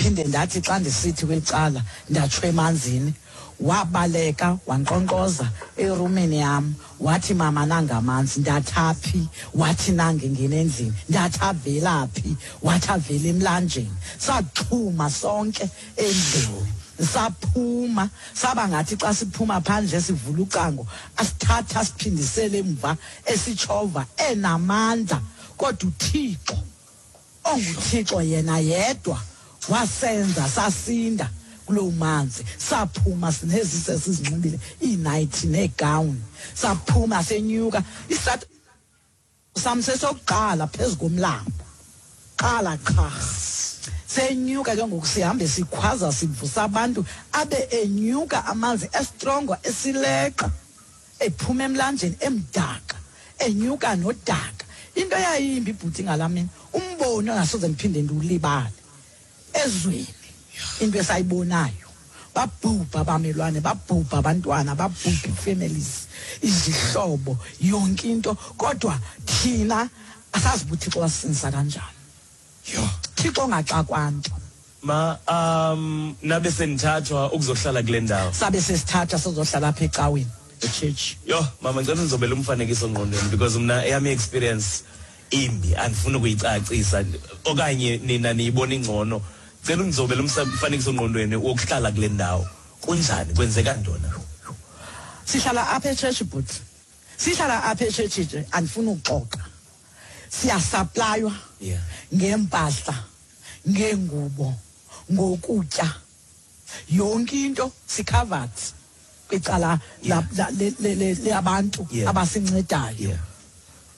Ndaphinde ndathi xa ndisithi kweli cala, ndatsho emanzini. Wabaleka wankqonkqoza erumini yam, wathi, "Mama, nangamanzi." Ndathi, "Aphi?" Wathi, "Nange ngena endlini." Ndathi, "Avela phi?" Wathi, "Avela emlanjeni." Saxhuma sonke endlini, saphuma, saba ngathi xa siphuma phandle sivula ucango, asithatha asiphindisele emva esitshova enamandla. Kodwa uThixo, onguThixo yena yedwa, wasenza sasinda kuloo manzi. Saphuma sinezise sizinxibile, iinightie neegawuni. Saphuma senyuka isat sam sesokuqala phezu komlambo, qala qha senyuka ke ngoku, sihambe sikhwaza, sivusa abantu, abe enyuka amanzi estrongo esileqa ephuma emlanjeni emdaka, enyuka nodaka. Into eyayimbi, ibhuti, ngalaa mini, umbono ongasoze ndiphinde ndiwulibale ezweni, into esayibonayo, babhubha abamelwane, babhubha abantwana, babhubha ii-families, izihlobo, yonke into. Kodwa thina asazi uba uThixo wasisindisa kanjani. Thixo ongaxakwa nto. Ma, nabe senithathwa ukuzohlala kule ndawo? Sabe sesithatha sizohlala apha ecaweni, echurch. Yho mama, ngicela ndizobela umfanekiso ngqondweni, because mna eyam i-experience imbi, andifuni ukuyicacisa okanye nina niyibona ingcono. Cela undizobela umfanekiso ngqondweni wokuhlala kule ndawo. Kunjani? Kwenzeka ntoni? Sihlala apha echurch, but sihlala apha echurch nje, andifuni ukuxoxa. Siyasuplaywa ngeempahla, ngeengubo, ngokutya, yonke into. Sicovered kwicala labantu abasincedayo.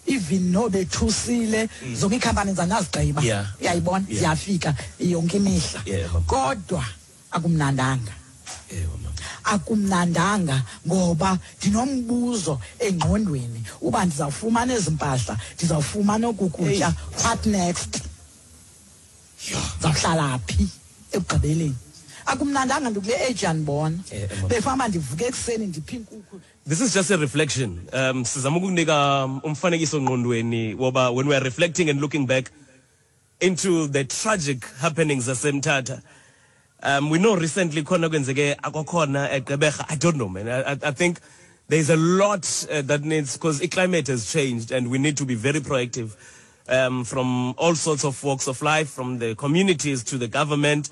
Even nobethusile, zonke iikhampani zangazigqiba. Uyayibona? Ziyafika yonke imihla. Kodwa akumnandanga. Ewe mama. Akumnandanga, ngoba ndinombuzo engqondweni uba ndizawufumana ezi mpahla, ndizawufumana oku kutya, what next? Ndizawuhlala phi ekugqibeleni? Akumnandanga. Ndikule age, yandibona. Mama. Befama ndivuke ekuseni, ndiphe iinkukhu. This is just a reflection. Sizama ukukunika umfanekiso ngqondweni woba when we are reflecting and looking back into the tragic happenings zaseMthatha. We know recently khona kwenzeke akwakhona eGqeberha. I don't know, man. I think there's a lot that needs, because the climate has changed and we need to be very proactive from all sorts of walks of life, from the communities to the government.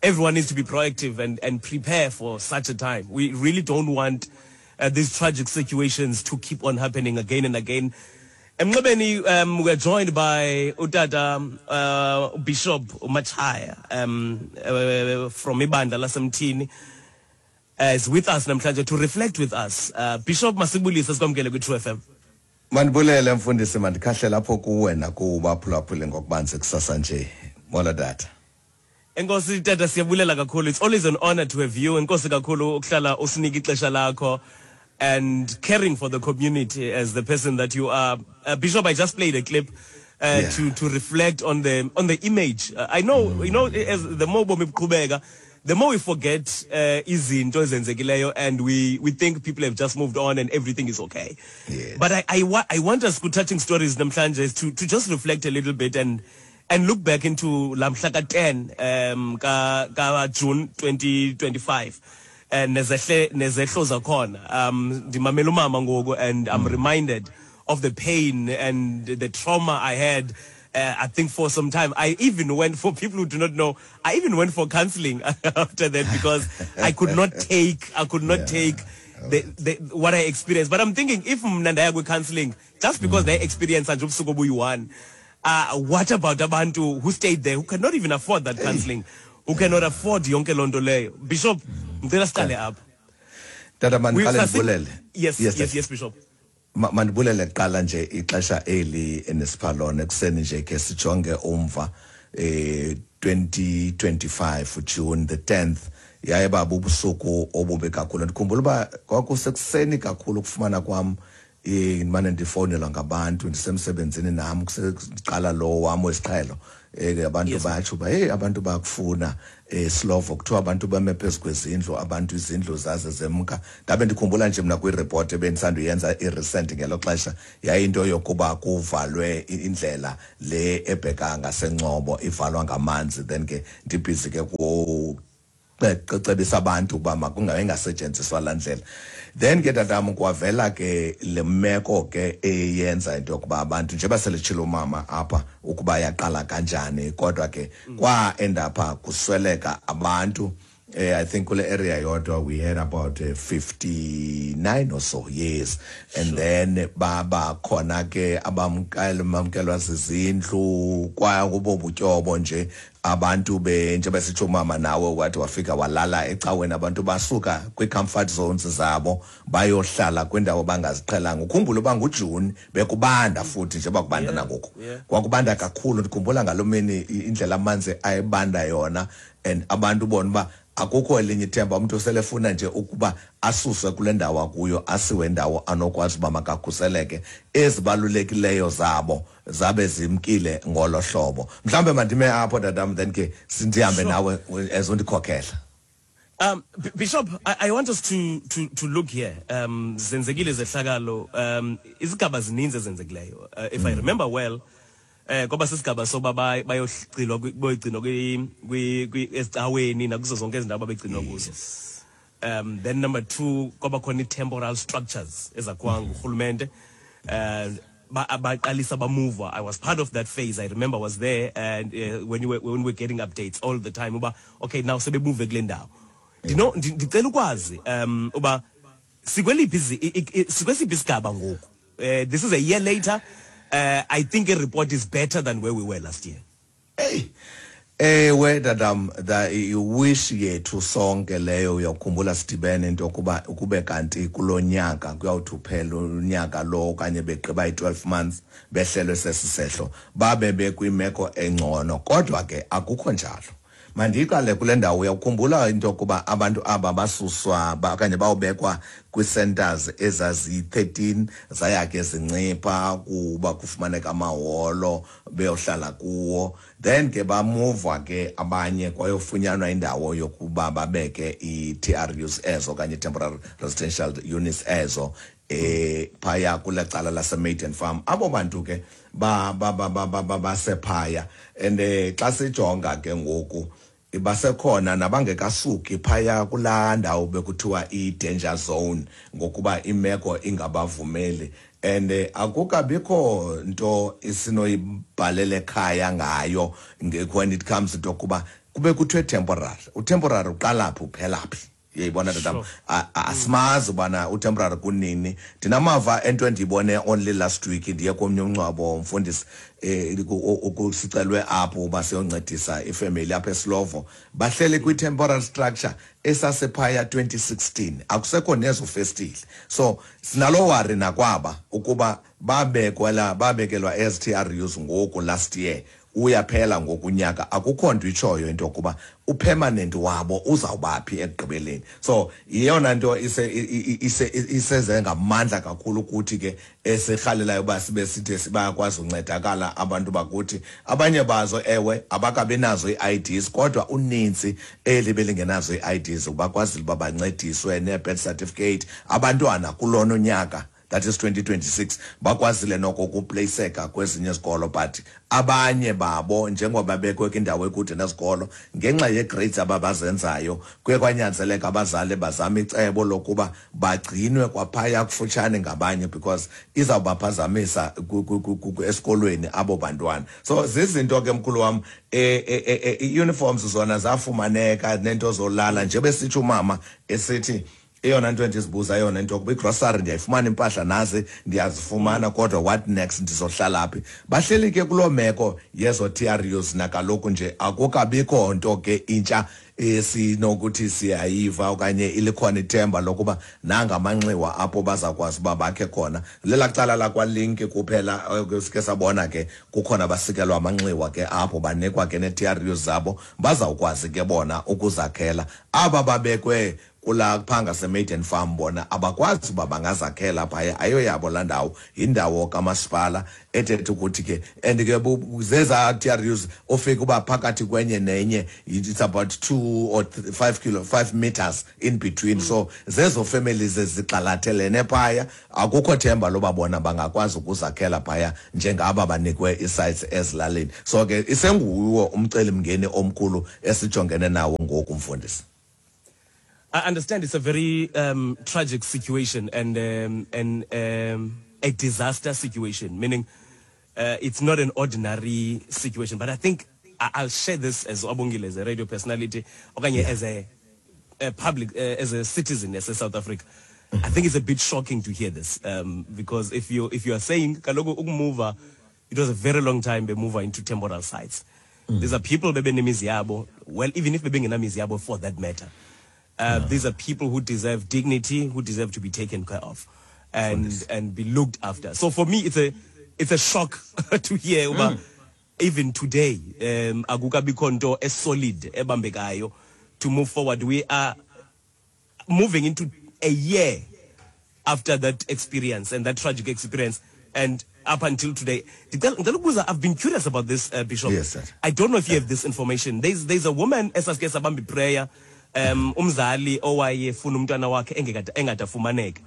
Everyone needs to be proactive and prepare for such a time. We really don't want these tragic situations to keep on happening again and again. Emnxebeni, we're joined by utata Bishop Machaya from ibandla laseMthini, is with us namhlanje to reflect with us. Bishop, masibulise, sikwamkele kwi-True FM. Mandibulele, mfundisi, mandikhahle lapho kuwe nakubaphulaphuli ngokubanzi kusasa nje. Molo, tata. Enkosi tata, siyabulela kakhulu. It's always an honor to have you. Enkosi kakhulu ukuhlala usinike ixesha lakho and caring for the community as the person that you are. Bishop, I just played a clip to reflect on the image. I know, as the more bomi buqhubeka, the more we forget izinto ezenzekileyo and we think people have just moved on and everything is okay. But I want us ku Touching Stories namhlanje to just reflect a little bit and look back into la mhla ka-10 ka June 2025 and nezehlo zakhona. Ndimamela umama ngoku and I'm reminded of the pain and the trauma I had. I think for some time, I even went for people who do not know, I even went for counseling after that because I could not take what I experienced. But I'm thinking, if mna ndaya kwi-counseling just because they experience nje ubusuku obuyi-one, what about abantu who stayed there, who cannot even afford that counseling, who cannot afford yonke loo nto leyo? Bishop, ngicela siqale apha. Tata, mandiqale ndibulele. Yes. Yes, Yes, yes, Bishop. Mandibulele kuqala nje ixesha eli enesipha lona ekuseni nje, ke sijonge umva. 2025 June the 10th yaye baba ubusuku obubi kakhulu. Ndikhumbula uba kwakusekuseni kakhulu ukufumana kwam. Ndimane ndifowunelwa ngabantu ndisemsebenzini nam, kuseqala lo wam wesiqhelo. Abantu bayatsho uba hey, abantu bayakufuna Slovo, kuthiwa abantu bame phezu kwezindlu, abantu izindlu zaze zemka. Ndabe ndikhumbula nje mna kwiripoti ebendisanduyenza i-recent ngelo xesha, yayinto yokuba kuvalwe indlela le ebheka ngaseNgcobo, ivalwa ngamanzi. Then ke ndibhizi ke cebisa abantu ukuba makungabe ingasetyenziswa laa ndlela. Then ke tatam kwavela ke le meko ke eyenza into yokuba abantu, njengoba seletshilo umama apha ukuba yaqala kanjani, kodwa ke kwa-endapha kusweleka abantu. I think kule area yodwa we had about 59 or so, yes. And then baba khona ke abamkelwa zizindlu, kwaya kubo butyobo nje abantu be njengoba sitsho umama nawe wathi wafika walala ecaweni, abantu basuka kwi-comfort zones zabo bayohlala kwindawo bangaziqhelanga. Ukhumbule uba nguJuni bekubanda futhi njengoba kubanda nangoku. Kwakubanda kakhulu, ndikhumbula ngaloo mini indlela amanzi ayebanda yona, and abantu bona uba akukho elinye ithemba, umuntu selefuna nje ukuba asuswe kule ndawo akuyo asiwe indawo anokwazi uba makakhuseleke, ezibalulekileyo zabo zabe zimkile ngolo hlobo. Mhlawumbe mandime apho tatam, then ke sindihambe nawe as undikhokhela. Bishop, I want us to look here. Zenzekile zehlakalo, izigaba zininzi ezenzekileyo. If I remember well, kwaba sisigaba soba bayogcinwa boyigcinwa kwi ezicaweni nakuzo zonke izindawo ababegcinwa kuzo. Then number 2, kwaba khona i-temporal structures ezakhiwa ngurhulumente. Baqalisa bamuva. I was part of that phase. I remember I was there, and when we were getting updates all the time uba okay, now sebemuve kule ndawo. Ndino ndicela ukwazi uba sikweliphi sikwesiphi isigaba ngoku. This is a year later. I think a report is better than where we were last year. Hey. Ewe tatam, the wish yethu sonke leyo, uyakhumbula sidibene into yokuba ukube kanti kulonyaka kuyawuthi uphela unyaka lo okanye begqiba i-12 months behlelwe sesisehlo babe bekwimeko engcono, kodwa ke akukho njalo. Mandiqale kule ndawo. Uyakhumbula into yokuba abantu aba basuswa okanye bawubekwa kwii-centers ezaziyi-13, zaya ke zincipha kuba kufumaneka amaholo beyohlala kuwo. Then ke bamuva ke abanye kwayofunyanwa indawo yokuba babeke i-TRUs ezo okanye temporary residential units ezo phaya kule cala lase-Maiden Farm. Abo bantu ke ba ba ba ba ba basephaya, and xa sijonga ke ngoku basekhona nabangekasuki phaya kulaa ndawo bekuthiwa i-danger zone ngokuba imeko ingabavumeli. And akukabikho nto isinoyibhalela ekhaya ngayo when it comes into yokuba kube kuthiwe temporary. Utemporary uqala phi uphela phi? Uyayibona tatam, asimazi ubana utemporary kunini. Ndinamava ento endiyibone only last week, ndiye komnye umngcwabo mfundisi, sicelwe apho uba siyoncedisa ifemeli apha eSlovo, bahleli kwi-temporary structure esasephaya 2016, akusekho nezo festile. So sinalo worry nakwaba ukuba babekwela babekelwa ezi-TRUs ngoku last year, uyaphela ngokunyaka, akukho nto itshoyo into yokuba upermanent wabo uzawubaphi ekugqibeleni. So iyona nto iseze ngamandla kakhulu ukuthi ke esirhalelayo uba sibe sithi bayakwazi uncedakala abantu bakuthi. Abanye bazo ewe abakabi nazo ii-IDs, kodwa uninzi eli belingenazo ii-IDs bakwazile uba bancediswe nee-birth certificate. Abantwana kulona unyaka, that is 2026, bakwazile noko ukuplaceka kwezinye izikolo, but abanye babo njengoba bekwe kwindawo ekude nezikolo ngenxa yee-grades ababazenzayo, kuye kwanyanzeleka abazali bazame icebo lokuba bagcinwe kwaphaya kufutshane ngabanye because izawubaphazamisa esikolweni abo bantwana. So zizinto ke mkhulu wam, i-uniforms zona zafumaneka nento zolala, nje besitsho umama esithi eyona nto endizibuza yona into yokuba igrosari ndiyayifumana, impahla nazi ndiyazifumana, kodwa what next, ndizohlala phi? Bahleli ke kuloo meko yezo TRUs nakaloku nje akukabikho nto ke intsha esinokuthi siyayiva okanye ilikhona ithemba lokuba nangamanxiwa apho bazakwazi uba bakhe khona. Lela cala lakwaLink kuphela sike sabona ke kukhona basikelwa amanxiwa ke apho, banikwa ke nee-TRUs zabo, bazawukwazi ke bona ukuzakhela. Aba babekwe Kula phaa ngaseMaiden Farm bona abakwazi uba bangazakhela phaya, ayoyabo laa ndawo, yindawo kamasipala ethetha ukuthi ke and ke zezaa TRUs ofika uba phakathi kwenye nenye it's about 2 or 5 kilo 5 meters in between. So zezo families ezigxalathelene phaya, akukho themba loba bona bangakwazi ukuzakhela phaya njengaba banikwe ii-sites ezilalini. So ke isenguwo umcelimngeni omkhulu esijongene nawo ngoku, mfundisi. I understand it's a very tragic situation and a disaster situation, meaning it's not an ordinary situation. But I think I'll share this as Abongile, as a radio personality, okanye as a public, as a citizen, as a South Africa. I think it's a bit shocking to hear this because if you are saying kaloku ukumuva, it was a very long time be move into temporal sites. These are people bebenemizi yabo. Well, even if bebengenamizi yabo for that matter. These are people who deserve dignity, who deserve to be taken care of and be looked after. So for me, it's a shock to hear uba even today akukabikho nto esolid ebambekayo to move forward. We are moving into a year after that experience and that tragic experience, and up until today. Ndicela ukubuza, I've been curious about this, Bishop. Yes, sir. I don't know if you have this information. There's a woman esasike sabamba iprayer, umzali owayefuna umntwana wakhe engekade engadafumaneka.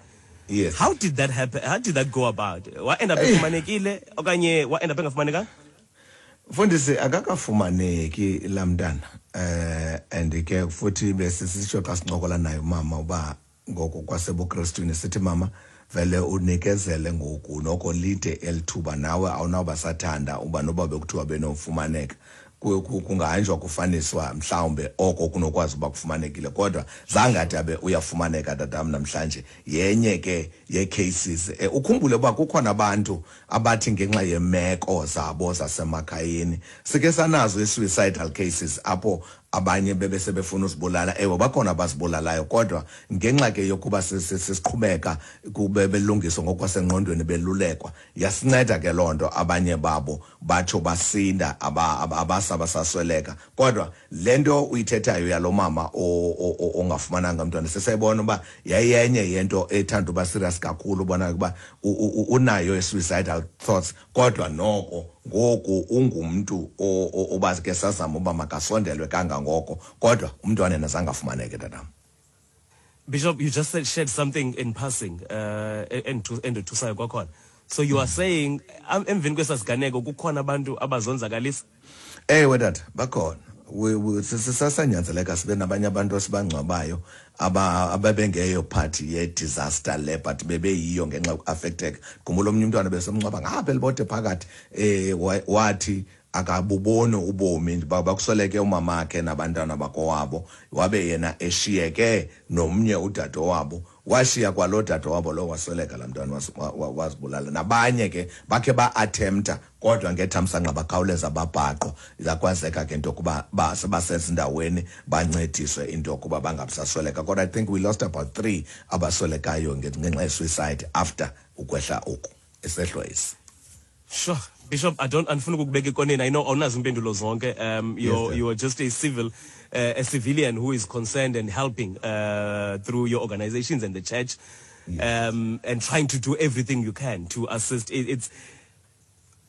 Yes. How did that happen? How did that go about? Wa end up efumanekile okanye wa end up engafumanekanga? Mfundisi, akakafumaneki laa mntana, and ke futhi besisitsho xa sincokola naye umama uba ngoko kwasebukrestwini sithi, "Mama, vele unikezele ngoku, noko lide elithuba, nawe awunawuba sathanda uba noba bekuthiwa benofumaneka." Kungahanjwa kufaniswa mhlawumbe oko kunokwazi uba kufumanekile, kodwa zange ade abe uyafumaneka tatam namhlanje. Yenye ke yee-cases, ukhumbule uba kukhona abantu abathi ngenxa yemeko zabo zasemakhayeni, sike sanazo i-suicidal cases apho abanye bebe sebefuna uzibulala. Ewe, bakhona abazibulalayo, kodwa ngenxa ke yokuba sisiqhubeka kube belungiswa ngokwasengqondweni, belulekwa, yasinceda ke loo nto, abanye babo batsho basinda, abasa basasweleka. Kodwa le nto uyithethayo yalo mama ongafumananga mntwana, sisayibona uba yayenye yento ethanda uba serious kakhulu, ubona ukuba unayo i-suicidal thoughts, kodwa noko ngoku ungumntu oba ke sazama uba makasondelwe kangangoko, kodwa umntwana yena zange afumaneke tatam. Bishop, you just shared something in passing endothusayo kwakhona. So you are saying emveni kwesasiganeko kukhona abantu abazonzakalisa? Ewe tata, bakhona. Sisasanyanzeleka sibe nabanye abantu esibangcwabayo ababengeyo part ye-disaster le, but bebeyiyo ngenxa yokuaffecteka. Khumbula omnye umntwana besemngcwaba ngapha eLibode phakathi, wathi akabuboni ubomi, bakusweleke umamakhe nabantwana bakowabo, wabe yena eshiyeke nomnye udade wabo, washiya kwalo dade wabo lo, wasweleka laa mntwana, wazibulala. Nabanye ke bakhe ba-attempta, kodwa ngethamsanqa bakhawuleza babhaqwa, zakwazeka ke into yokuba basezindaweni bancediswe into yokuba bangabisasweleka. Kodwa I think we lost about three abaswelekayo ngenxa ye-suicide after ukwehla oku isehlo esi. Sure. Bishop, I don't andifuna ukukubeka ekoneni. I know awunazo impendulo zonke. You're Yes, sir. You are just a civilian who is concerned and helping through your organizations and the church, and trying to do everything you can to assist. It's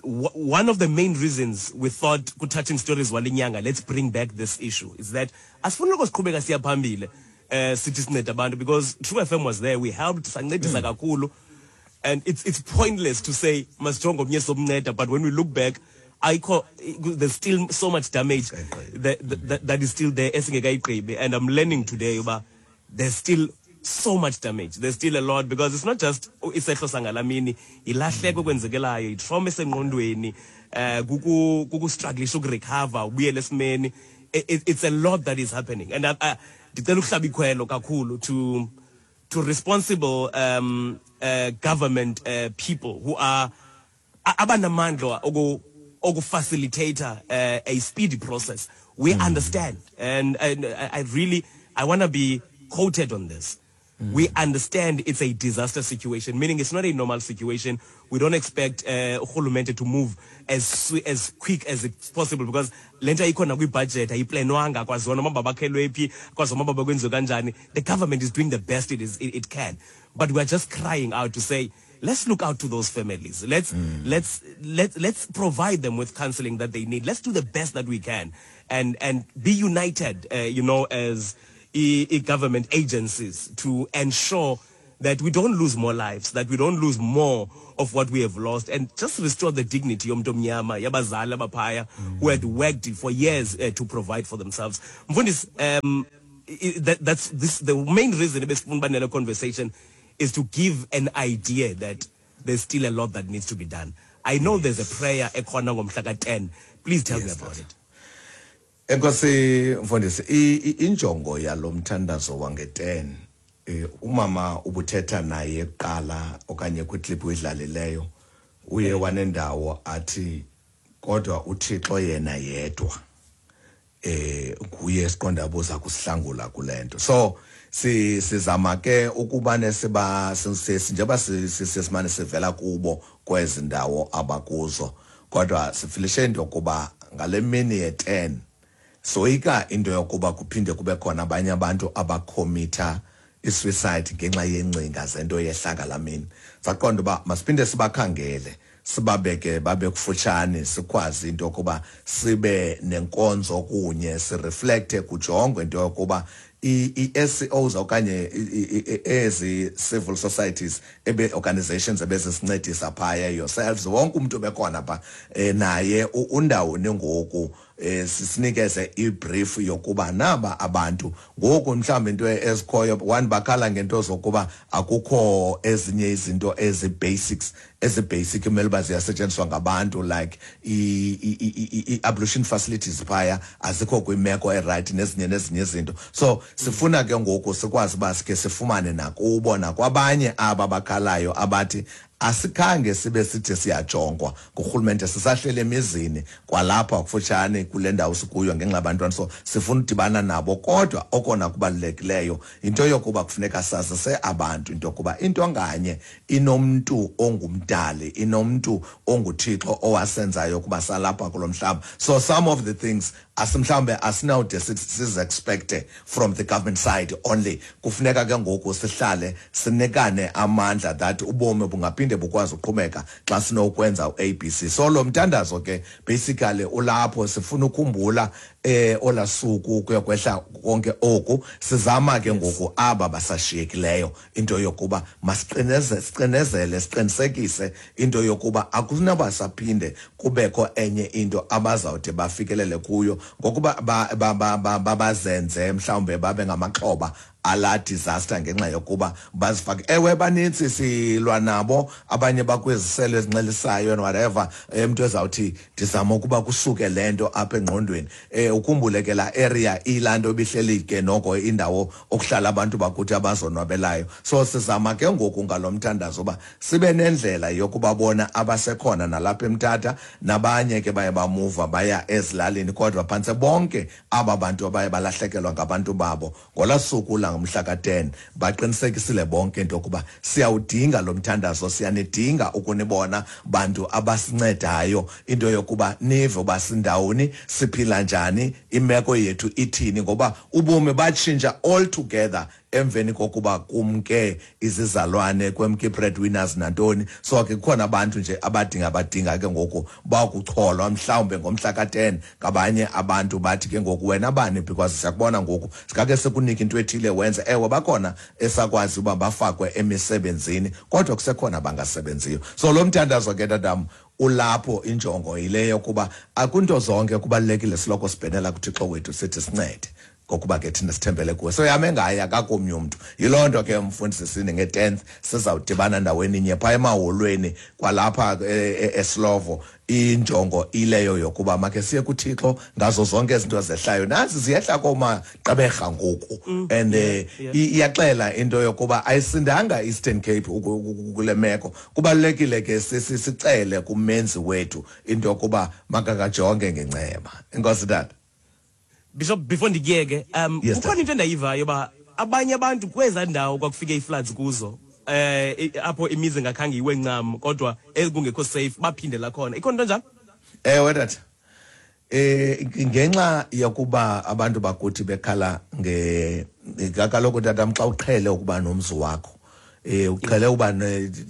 one of the main reasons we thought ku-Touching Stories walinyanga, let's bring back this issue, is that asifuni loko siqhubeka siya phambili sithi sinceda abantu, because True FM was there, we helped, sancedisa kakhulu, and it's pointless to say masijonge omnye somnceda, but when we look back, ayikho, there's still so much damage that is still there esingekayigqibi. And I'm learning today uba there's still so much damage, there's still a lot, because it's not just isehlo sangalamini, ilahleko ekwenzekelayo, itrauma esengqondweni, kukustrugglisha ukurecover ubuyele esimeni. It's a lot that is happening, and ndicela ukuhlaba ikhwelo kakhulu to responsible government people who are abanamandla okufacilitate a speedy process. We understand, and I really, I want to be quoted on this. We understand it's a disaster situation, meaning it's not a normal situation. We don't expect urhulumente to move as quick as it's possible because le nto ayikho nakwibudget, ayiplanwanga, kwaziwa noma babakhelwe phi, kwaziwa noma bakwenziwe kanjani. The government is doing the best it can. But we are just crying out to say, let's look out to those families. Let's provide them with counseling that they need. Let's do the best that we can and be united, as government agencies to ensure that we don't lose more lives, that we don't lose more of what we have lost, and just restore the dignity yomntu omnyama, yabazali abaphaya, who had worked for years to provide for themselves. Mfundisi, that's this, the main reason ebesifuna uba nale conversation is to give an idea that there's still a lot that needs to be done. I know there's a prayer ekhona ngomhla ka-10. Please tell me about it. Enkosi mfundisi, injongo yalo mthandazo wange-10, umama ubuthetha naye kuqala okanye kwiclip uyidlalileyo, uye wanendawo athi kodwa uThixo yena yedwa nguye esiqonda buza kusihlangula kulento. So sizama ke ukuba nesiba njengoba sesimane sivela kubo kwezi ndawo abakuzo, kodwa sifilishe into yokuba ngale mini ye-10 soyika into yokuba kuphinde kube khona abanye abantu abakhomitha i-suicide ngenxa yengcinga zento yehla ngalaa mini. Saqonda uba masiphinde sibakhangele, sibabeke babe kufutshane, sikwazi into yokuba sibe nenkonzo kunye, sireflecte, kujongwe into yokuba i-S C Os okanye ezi civil societies ebe organizations ebezisincedisa phaya, yourselves, wonke umuntu obekhona pha, naye undawoni ngoku, sisinikeze ibrief yokuba naba abantu ngoku mhlawumbe into ezikhoyo. One, bakhala ngento zokuba akukho ezinye izinto ezi basics, ezi basic kumele uba ziyasetyenziswa ngabantu, like i-ablution facilities phaya azikho kwimeko eright, nezinye nezinye izinto. So sifuna ke ngoku sikwazi uba sikhe sifumane nakubo nakwabanye aba bakhalayo abathi asikhange sibe sithi siyajongwa ngurhulumente, sisahlele emizini kwalapha kufutshane kule ndawo sikuyo ngenxa yabantwana. So sifuna udibana nabo, kodwa okona kubalulekileyo into yokuba kufuneka sazise abantu into yokuba into nganye inomntu ongumdali, inomntu onguThixo owasenzayo ukuba salapha kulo mhlaba. So some of the things asimhlawumbe asinawude sizi-expecte from the government side only. Kufuneka ke ngoku sihlale sinikane amandla that ubomi bungaphinde bukwazi uqhubeka xa sinokwenza u-ABC. So lo mthandazo ke basically ulapho, sifuna ukukhumbula olasuku kuyokwehla konke oku. Sizama ke ngoku aba basashiyekileyo into yokuba masiqineze, siqinezele, siqinisekise into yokuba akunaba saphinde kubekho enye into abazawude bafikelele kuyo ngokuba bazenze mhlawumbe babe ngamaxhoba ala disaster ngenxa yokuba bazifake. Ewe, banintsi silwa nabo, abanye bakwiziselo ezinxelisayo and whatever, umuntu ezawuthi ndizama ukuba kusuke le nto apha engqondweni. Ukhumbule ke la area ilaa nto ibihleli ke noko indawo okuhlala abantu bakuthi abazonwabelayo. So sizama ke ngoku ngalo mthandazo uba sibe nendlela yokubabona abasekhona nalapha eMthatha, nabanye ke baye bamuva baya ezilalini, kodwa phantse bonke aba bantu abaye balahlekelwa ngabantu babo ngolaa suku langomhla ka-10 baqinisekisile bonke into yokuba siyawudinga lo mthandazo, siyanidinga ukunibona bantu abasincedayo into yokuba nive uba sindawoni, siphila njani, imeko yethu ithini, ngoba ubomi batshintsha all together emveni kokuba kumke izizalwane, kwemke breadwinners nantoni. So ke kukhona abantu nje abadinga ke ngoku bakucholwa mhlawumbe ngomhla ka-10 ngabanye abantu, bathi ke ngoku wena bani, because siyakubona ngoku sikake sikunike into ethile wenze. Ewe, bakhona esakwazi uba bafakwe emisebenzini, kodwa kusekhona abangasebenziyo. So lo mthandazo ke tatam ulapho, injongo yile yokuba akunto zonke kubalulekile siloko sibhenela kuThixo wethu sithi sincede, ngokuba ke thina sithembele kuwe. So yame ngaye, akakomnye umntu. Yiloo nto ke mfundisi sini nge-10th sizawudibana ndaweni inye phaa emaholweni kwalapha eSlovo. Injongo ileyo yokuba makhe siye kuThixo ngazo zonke izinto zehlayo, nazi ziyehla koomagqeberha ngoku, and iyaxela into yokuba ayisindanga Eastern Cape kule meko. Kubalulekile ke sicele kumenzi wethu into yokuba makakajonge ngenceba. Enkosi tata. Bishop, before ndikuyeke, Yes, kukhona into endayivayo uba Abanye abantu kweza ndawo kwakufike ii-floods kuzo, apho imizi ingakhange iwe ncam kodwa ekungekho safe, baphindela khona. Ikhona into njalo? Ewe tata, ngenxa yokuba abantu bakuthi bekhala nge kaloku tatam, xa uqhele ukuba nomzi wakho, uqhele uba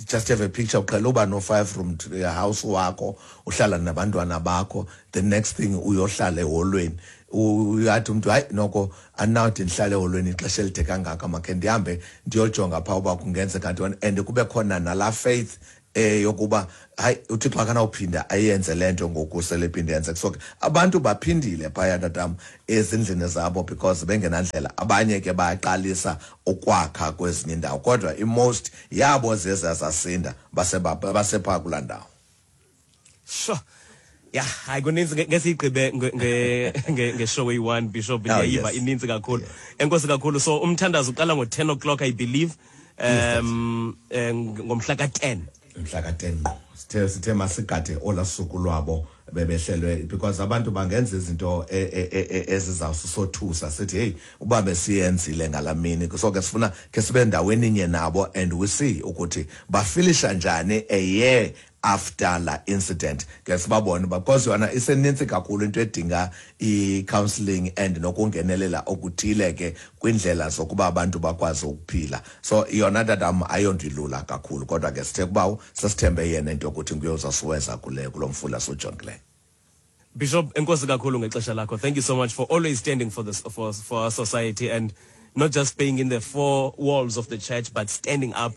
just have a picture, uqhele uba no 5 room house wakho, uhlala nabantwana bakho, the next thing uyohlala eholweni. Uyathi umntu, hayi noko andinawuthi ndihlale eholweni ixesha elide kangaka, makhe ndihambe ndiyojonga phaa uba kungenzeka ntoni. And kube khona nalaa faith yokuba hayi, uThixo akanawuphinda ayenze le nto ngoku sele iphinde yenzeka. So ke abantu baphindile phaya tatam ezindlini zabo because bengenandlela. Abanye ke bayaqalisa ukwakha kwezinye iindawo, kodwa i-most yabo zeza zasinda basephaa kulaa ndawo. Sure. Yeah, hayi, kuninzi, ngesiyigqibe nge-show eyi-one, Bishop. Oh, Ndiyayiva, yes. ininzi kakhulu. Enkosi kakhulu. So umthandazo uqala ngo-10 o'clock, I believe, ngomhla ka-10. Mhla ka-10 ngqo. Sithe masigade olaa suku lwabo bebehlelwe, because abantu bangenza izinto ezizawusisothusa, sithi hey, uba besiyenzile ngalaa mini. So ke sifuna ke sibe ndaweni inye nabo and we see ukuthi bafilisha njani a year after la incident, ke sibabone, because yona isenintsi kakhulu into edinga i-counselling and nokungenelela okuthile ke kwindlela zokuba abantu bakwazi ukuphila. So yona tatam ayonto ilula kakhulu, kodwa ke sithe kubawo sesithembe yena into yokuthi nguye uzasiweza kulo mfula siwujongileyo. Bishop, enkosi kakhulu ngexesha lakho. Thank you so much for always standing for our society and not just being in the four walls of the church, but standing up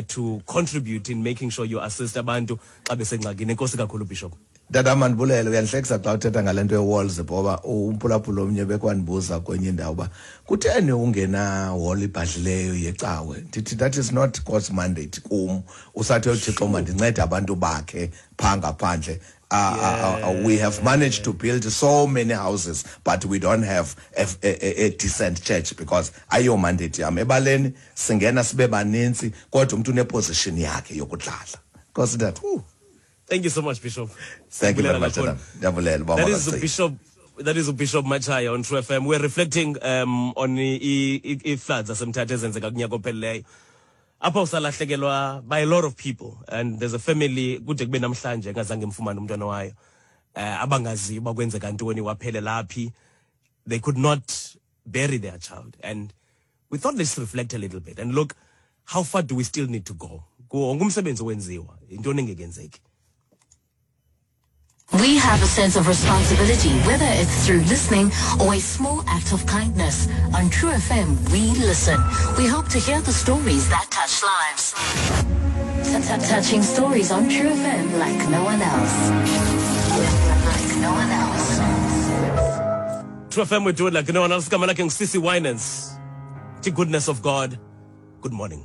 to contribute in making sure you assist abantu xa besengxakini. Enkosi kakhulu, Bishop. Tata, mandibulele. Uyandihlekisa xa uthetha ngale nto ye-walls, ngoba umphulaphula omnye bekwandibuza kwenye indawo uba kutheni ungena hall ibhadlileyo yecawe. Ndithi that is not God's mandate kum. Usathi uThixo mandincede abantu bakhe phaa ngaphandle. We have managed to build so many houses, but we don't have a decent church, because ayo mandate yam. Ebaleni singena sibe baninzi, kodwa umntu uneposition yakhe yokudlala. Nkosi tata. Thank you so much, Bishop. Thank you very much, Siyabulela. Adam. Ndiyabulela, uba That is makasicike. Bishop. That is Bishop Matshaya on True FM. We're reflecting on i-floods zaseMthatha ezenzeka kunyaka ophelileyo, apho usalahlekelwa by a lot of people, and there's a family kude kube namhlanje engazange imfumane umntwana wayo, abangaziyo uba kwenzeka ntoni, waphelela phi. They could not bury their child, and we thought let's reflect a little bit and look, how far do we still need to go? Wonke umsebenzi owenziwa, yintoni engekenzeki? We have a sense of responsibility, whether it's through listening or a small act of kindness. On True FM, we listen. We hope to hear the stories that touch lives. Touching stories on True FM like no one else. Like no one else. True FM, we do it like no one else. Igama lakhe nguCC Winans. The goodness of God. Good morning.